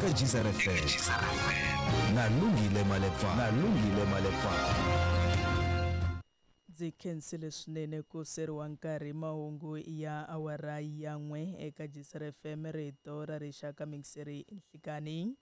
Eka Geyser FM na Lungile Malepfana. Na Lungile Malepfana. Ndzi khensile swinene ku seriwa nkarhi mahungu ya awara ya n'we eka Geyser FM rito ra rixaka mixeri nhlikani.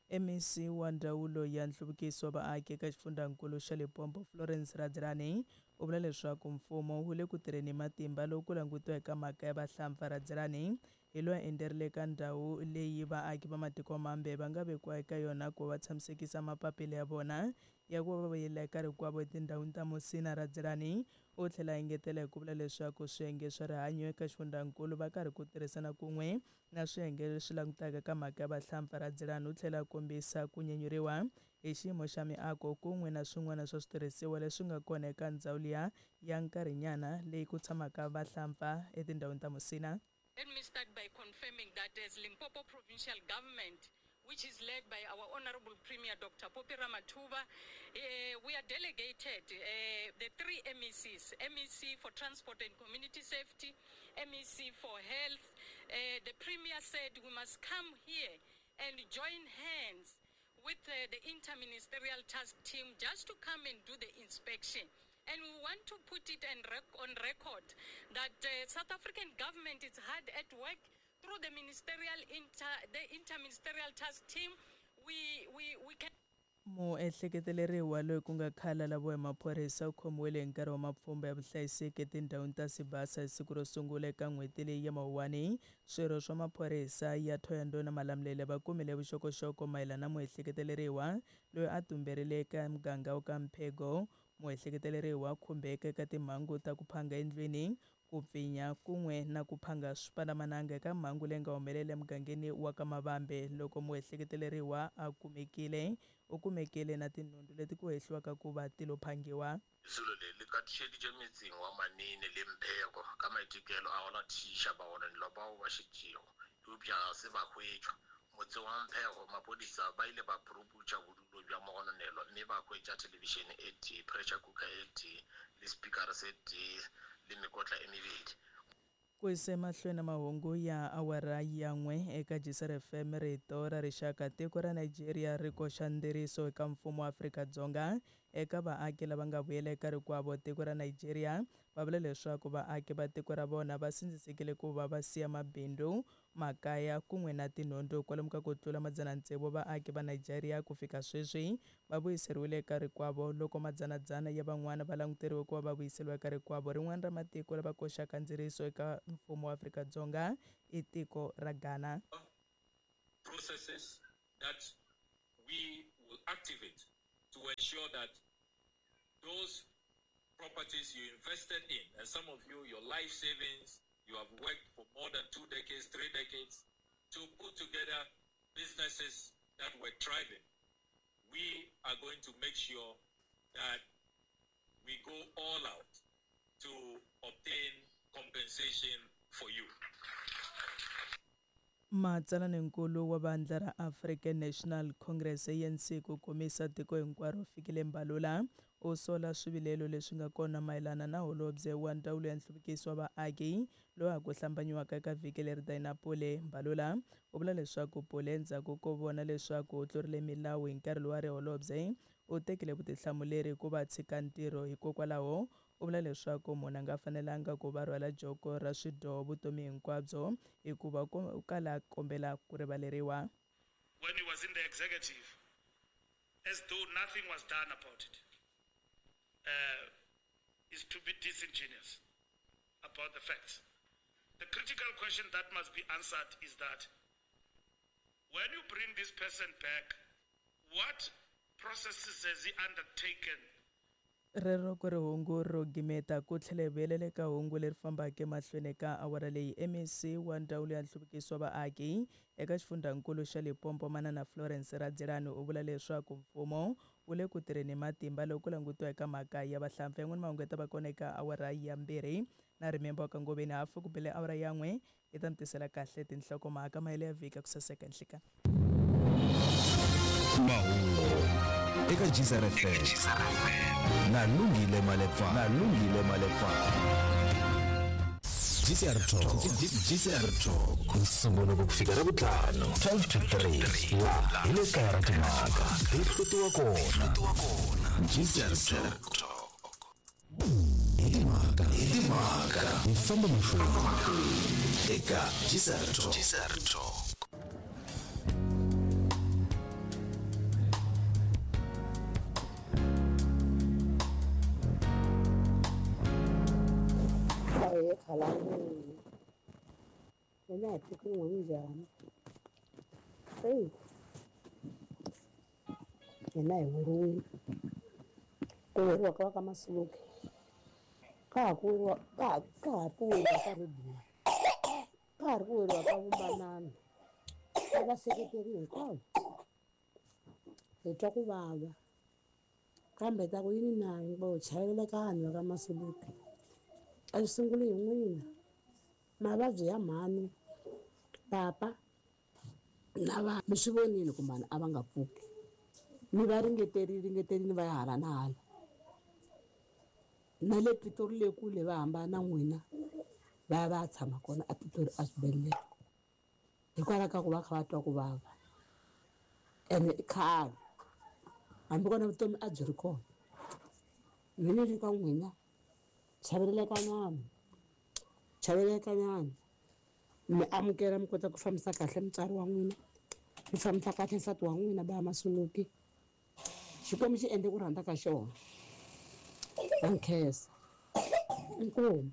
MEC wa Ndzawulo ya Nhluvukiso wa Vaaki eka xifundzankulu xa Limpopo Florence Radzilani u vula leswaku mfumo wu le ku tirheni hi matimba loko ku langutiwa eka mhaka ya vahlampfa. Radzilani hi loyi a endzerile eka ndhawu leyi vaaki va matiko mambe va nga vekiwa eka yona ku va tshamisekisa mapapila ya vona ya ku va va vuyela eka rikwavo etindhawini ta Musina. Radzilani u tlhela a engetela hi ku vula leswaku swiyenge swa rihanyo eka xifundzankulu va karhi ku tirhisana kun'we na swiyenge leswi langutaka ka mhaka ya vahlampfa. Radzilani u tlhela a kombisa ku nyanyuriwa hi xiyimo xa miako kun'we na swin'wana swa switirhisiwa leswi nga kona eka ndzhawu liya ya nkarhinyana leyi ku tshamaka vahlampfa etindhawini ta Musina. Let me start by confirming that as Limpopo Provincial Government, which is led by our Honorable Premier Dr. Phophi Ramathuba, we are delegated the three MECs, MEC for Transport and Community Safety, MEC for Health. The Premier said we must come here and join hands with the interministerial task team just to come and do the inspection. And we want to put it on record that South African government is hard at work through the ministerial the interministerial task team. We can Muehleketeleriwa loyi ku nga khale a laviwa hi maphorisa u khomiwile hi nkarhi wa mapfhumba ya vuhlayiseki etindhawini ta Sibasa hi siku ro sungula eka n'hweti leyi ya Mawuwani. Swirho swa maphorisa ya Thohoyandou na Malamulele va kumile vuxokoxoko mayelana na muehleketeleriwa loyi a tumberile eka muganga wa ka Mphego. Muehleketeleriwa khumbeka eka timhangu ta ku phanga endlwini, ku pfinya kun'we na ku phanga swipandzamananga eka mhangu leyi nga humelela emugangeni wa ka Mavambe. Loko muehleketeleriwa a kumekile, u kumekile na tinhundzu leti ku hehliwaka ku va ti lo phangiwa. Lesolo le le katišeditše metseng wa Manene le Mpheko ka maitekelo a go latišiša bagononelwa bao ba šetšego, eupša ga se ba hwetšwa. Motseng wa Mphego, maphodisa ba ile ba puruputša bodulo bja mogononelwa mme ba hwetša thelebišene e tee, pressure cooker e tee le spikara se tee le mekotla e mebedi. Ku yisa emahlweni mahungu ya awara ya n'we eka Geyser FM rito ra rixaka tiko ra Nigeria ri koxa ndzeriso eka mfumo wa Afrika-Dzonga eka vaaki lava nga vuyela eka rikwavo. Tiko ra Nigeria va vula leswaku vaaki va tiko ra vona va sindzisekile ku va va siya mabindzu, makaya kun'we na tinhundzu. Kwalomu ka ku tlula 600 vaaki va Nigeria ku fika sweswi va vuyiseriwile eka rikwavo, loko madzanadzana ya van'wana va languteriwe ku va va vuyiseriwa eka rikwavo. Rin'wana ra matiko lava koxaka ndzeriso eka mfumo wa Afrika-Dzonga i tiko ra Ghana. Processes that we will activate to ensure that those properties you invested in, and some of you, your life savings, you have worked for more than 2 decades, 3 decades, to put together businesses that were thriving. We are going to make sure that we go all out to obtain compensation for you. Matsalaninkulu wa vandla ra African National Congress ANC ku komisa tiko hinkwaro Fikile Mbalula u sola swivilelo leswi nga kona mayelana na holobye wa ndzawulo ya nhluvukiso wa vaaki loyi a ku hlambanyiwaka eka vhiki leri Dina Pule. Mbalula u vula leswaku Pule endzhaku ko vona leswaku u tlurile milawu hi nkarhi lowu a ri holobye u tekile vutihlamuleri ku va tshika ntirho. Hikokwalaho u vula leswaku munhu a nga fanelanga ku va rhwala joko ra swidyoho vutomi hinkwabyo hikuva u kala a kombela ku rivaleriwa. When he was in the executive, as though nothing was done about it, is to be disingenuous about the facts. The critical question that must be answered is that when you bring this person back, what processes has he undertaken? Rero ku ri hungu ro gimeta ku tlhela hi vuyelela eka hungu leri fambaka emahlweni ka awara leyi. MEC wa ndzawulo ya nhluvukiso wa vaaki eka xifundzankulu xa Limpopo Manana Florence Radzilani u vula leswaku mfumo wu le ku tirheni matimba loko ku langutiwa eka mhaka ya vahlampfa. Yan'wana mahungu ya ta va kona eka awara ya 2 na rimemba wa ka Ngoveni hafu ku bele awara ya 1 yi ta mi tisela kahle tinhlokomhaka mahelo ya vhiki ku saseka nhlekani. Mahungu eka Geyser FM na Lungile Malepfana. Na Lungile Malepfana. GCR Talk. GCR Talk. Nsumbuluko ku fika Ravutlhanu 12 to 3 laha hi le kaya ra timhaka ti hlutiwa kona. GCR Talk. Hi timhaka, hi timhaka. Hi famba mahlweni eka GCR Talk. GCR Talk. Ahee khalani mina hi tiko n'we minjhani eyi hina hi weriwile ku weriwa ka va ka Masuluke ka ha ku weriwa ka ha ka ha ku weriwa ka Ribunwa ka ha ri ku weriwa ka Vumbanani ka vaseketeri hinkwavo hi twa ku vava kambe ta ku yini na hinkwavo chavelelekani va ka Masuluke a swi sunguli hi n'wina mavabyi ya mhani papa na va mi swi vonile ku mhani a va nga pfuki mi va ringeterile ringeterile va ya hala na hala na le Pitori le kule va hambana na n'wina va ya va ya tshama kona a Pitori a swibedhlele hikwalaho ka ku va kha va twa ku vava ene i khale hambi kona vutomi a byi ri kona mina ni ri ka n'wina chavelelekanyana chavelelekanyana mi amukela mi kota ku fambisa kahle mutswari wa n'wina mi fambisa kahle nsati wa n'wina ba Masuluke Xikwembu xi endle ku rhandza ka xona na nkhensa inkomu.